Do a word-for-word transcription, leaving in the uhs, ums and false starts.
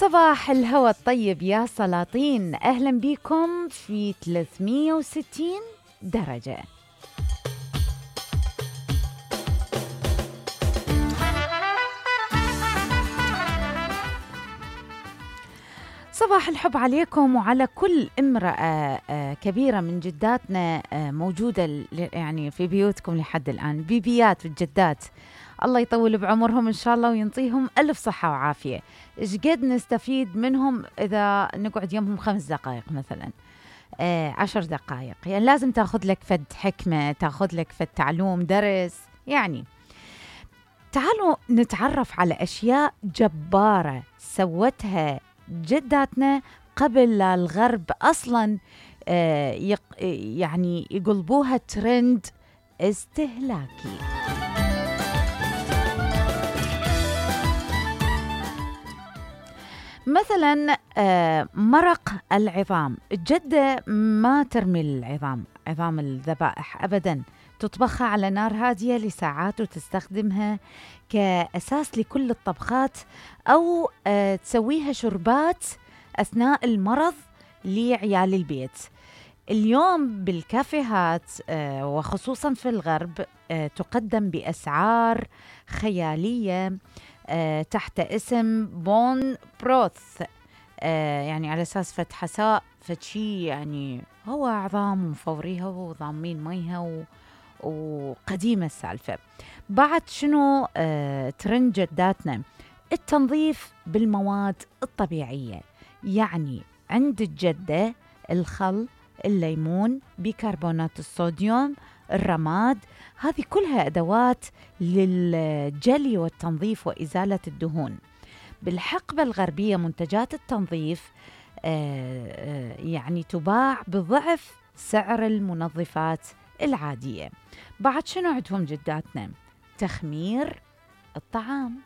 صباح الهوى الطيب يا سلاطين، أهلا بكم في ثلاثمية وستين درجة. صباح الحب عليكم وعلى كل امرأة كبيرة من جداتنا موجودة يعني في بيوتكم لحد الآن، بيبيات والجدات، الله يطول بعمرهم إن شاء الله وينطيهم ألف صحة وعافية. إيش قد نستفيد منهم إذا نقعد يمهم خمس دقائق مثلا، آه عشر دقائق، يعني لازم تاخذ لك فد حكمة، تاخذ لك فد تعلوم درس. يعني تعالوا نتعرف على أشياء جبارة سوتها جداتنا قبل لا الغرب أصلا آه يق يعني يقلبوها ترند استهلاكي. مثلا مرق العظام، الجدة ما ترمي العظام، عظام الذبائح أبدا، تطبخها على نار هادية لساعات وتستخدمها كأساس لكل الطبخات، أو تسويها شربات أثناء المرض لعيال البيت. اليوم بالكافيهات وخصوصا في الغرب تقدم بأسعار خيالية تحت اسم بون بروث، يعني على أساس فت حساء فت شي، يعني هو عظام ومفوريها وضامين ميها وقديمة السالفة. بعد شنو ترند جداتنا؟ التنظيف بالمواد الطبيعية، يعني عند الجدة الخل، الليمون، بيكربونات الصوديوم، الرماد، هذه كلها أدوات للجلي والتنظيف وإزالة الدهون. بالحقبة الغربية منتجات التنظيف آه يعني تباع بضعف سعر المنظفات العادية. بعد شنو عندهم جداتنا؟ تخمير الطعام.